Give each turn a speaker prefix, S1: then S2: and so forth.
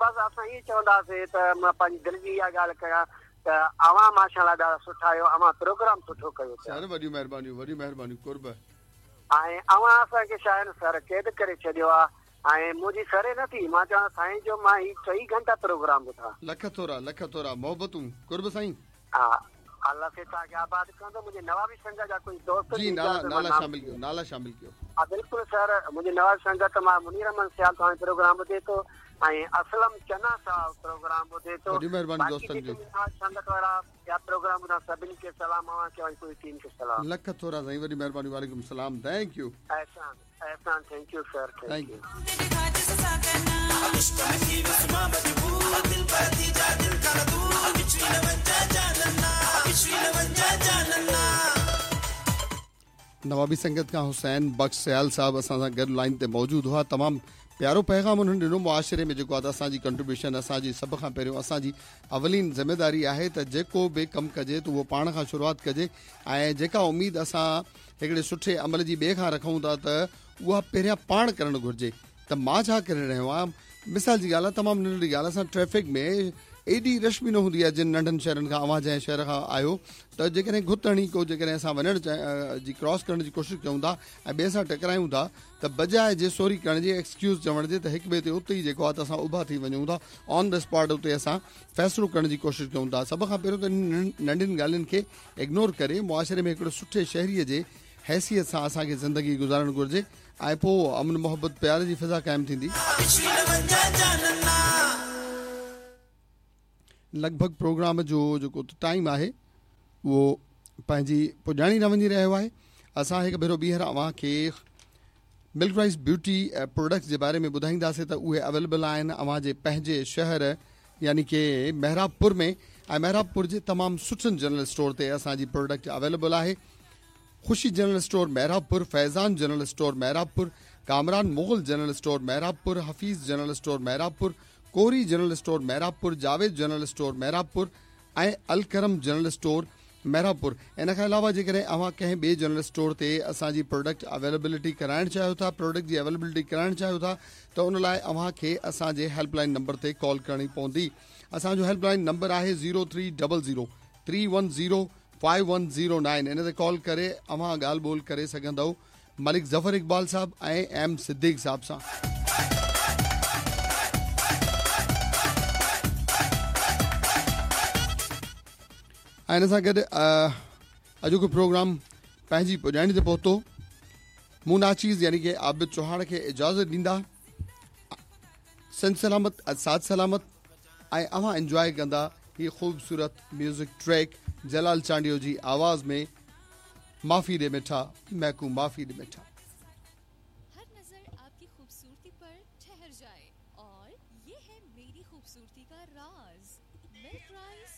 S1: بس اسان ائين چونداسين ته مان پنهنجي دل جي اها ڳالهه ڪيان ته اوهان ماشاء الله ڏاڍا سٺا آهيو اوهان پروگرام سٺو ڪيو پيا.
S2: سر وڏيون مهربانيون وڏيون مهربانيون قرب.
S1: ۽ اوهان اسان کي شايد سر قيد ڪري ڇڏيو آ ۽ منهنجي سري نه ٿي مان چوان سائين جو مان هي ٽئي گهنٽا پروگرام ٻڌان.
S2: لک ٿورا لک ٿورا محبتون قرب سائين.
S1: ها الله سائين توهان کي آباد ڪندو منهنجي نوابي سنگت جا ڪجهه دوست
S2: جي نالا نالا شامل ڪيو نالا شامل ڪيو.
S1: ها بلڪل سر منهنجي نوابي سنگت مان منير احمد سيال توهان جو پروگرام ٻڌي ٿو ۽ اسلم چنا صاحب پروگرام ٻڌي ٿو
S2: وڏي مهرباني دوستن جي.
S1: سنگت وارا ٻيا پروگرام ٻڌان سڀني کي سلام اوهان کي ۽ پوري ٽيم کي سلام.
S2: لک ٿورا سائين وڏي مهرباني وعليڪم سلام thank you.
S1: Ehsan Ehsan thank you sir thank you.
S2: نوابي سنگت کان حسين بخش سيال صاحب اسان سان گڏ لائين تي موجود هئا تمام پيارو پيغام انهن ڏنو معاشري ۾ جيڪو آهي ته اسان جي ڪنٽريبيوشن اسان جي سڀ کان پهريون اسان جي اولين ذميداري آهي ته جيڪو به ڪم ڪجي ته اهو پاڻ کان شروعات ڪجي ۽ جيڪا اميد اسان هڪڙي سٺي عمل جي ٻئي کان رکون ٿا ته اها پهريان پاڻ ڪرڻ گهرجي ته مان ڇا ڪري رهيو آهيان مثال جي ڳالهه آهي تمام ننڍڙي ڳالهه اسان ٽريفڪ ۾ ايڏي رش به نه هوندي آهي جن ننڍن شهرن کان اوهان جنهن شهر کان آهيو ته جيڪڏهن گهت هڻي ڪو جيڪڏهن اسان وڃڻ جي ڪراس ڪرڻ جي ڪوشش ڪيون ٿا ۽ ٻئي سان ٽڪرايون ٿا ته بجاء جي سوري ڪرڻ جي ايڪسڪيوز چوڻ جي ته هڪ ٻئي تي اتي ئي جيڪو آهي ته اسان اڀا ٿي وڃون ٿا آن the spot اتي اسان فيصلو ڪرڻ جي ڪوشش ڪيون ٿا سڀ کان پهريون ته ننڍين ڳالهين کي اگنور ڪري معاشري ۾ هڪڙو سٺي شهري جي حيثيت سان اسان کي زندگي گذارڻ گهرجي ۽ پوء امن محبت پيار جي فضا قائم ٿيندي. لڳ ڀڳ پروگرام جو جيڪو ٽائيم آهي اهو پنهنجي پڄاڻي ڏانهن وڃي رهيو آهي اسان هڪ ڀيرو ٻيهر اوهان کي ملڪ رائس بيوٽي پروڊڪٽس جي باري ۾ ٻڌائينداسين ته اهي اويليبل آهن اوهان جي پنهنجي شهر يعني ڪي محراب پور ۾ ۽ محراب پور جي تمام سٺن جنرل اسٽور تي اسان جي پروڊڪٽ اويليبل آهي Khushi general store Mehrabpur, Faizan general store Mehrabpur, Kamran Mughal general store Mehrabpur, Hafeez general store Mehrabpur, Kori general store Mehrabpur, Javed general store Mehrabpur ۽ Alkaram general store Mehrabpur. ان کان علاوه جيڪڏهن اوهان ڪنهن ٻئي general store تي اسان جي product availability ڪرائڻ چاهيو ٿا پروڊڪٽ جي اويليبلٽي ڪرائڻ چاهيو ٿا ته ان لاء اوهان کي اسان جي هيلپ لائن نمبر تي ڪال ڪرڻي پوندي اسان جو هيلپ لائن نمبر آهي zero three double zero three one zero five one zero nine ان تي ڪال ڪري اوهان ڳالهه ٻولهه ڪري سگهندؤ ملڪ ظفر اقبال صاحب ۽ ايم صديق صاحب سان. ۽ ان سان گڏ اڄوڪو پروگرام پنهنجي پڄاڻي تي پهتو مون ناچيز يعني ڪي عابد چوهاڻ کي اجازت ڏيندا سنڌ سلامت ساٿ سلامت ۽ اوهان انجواء ڪندا هي خوبصورت ميوزڪ ٽريڪ جلال چانڊيو جي آواز ۾ معافي ڏي مٺا ميڪون معافي ڏي مٺا.
S3: هر نظر آپ ڪي خوبصورتي پر ٺهر جائي اور يه هي ميري خوبصورتي ڪا راز ملڪ رائس.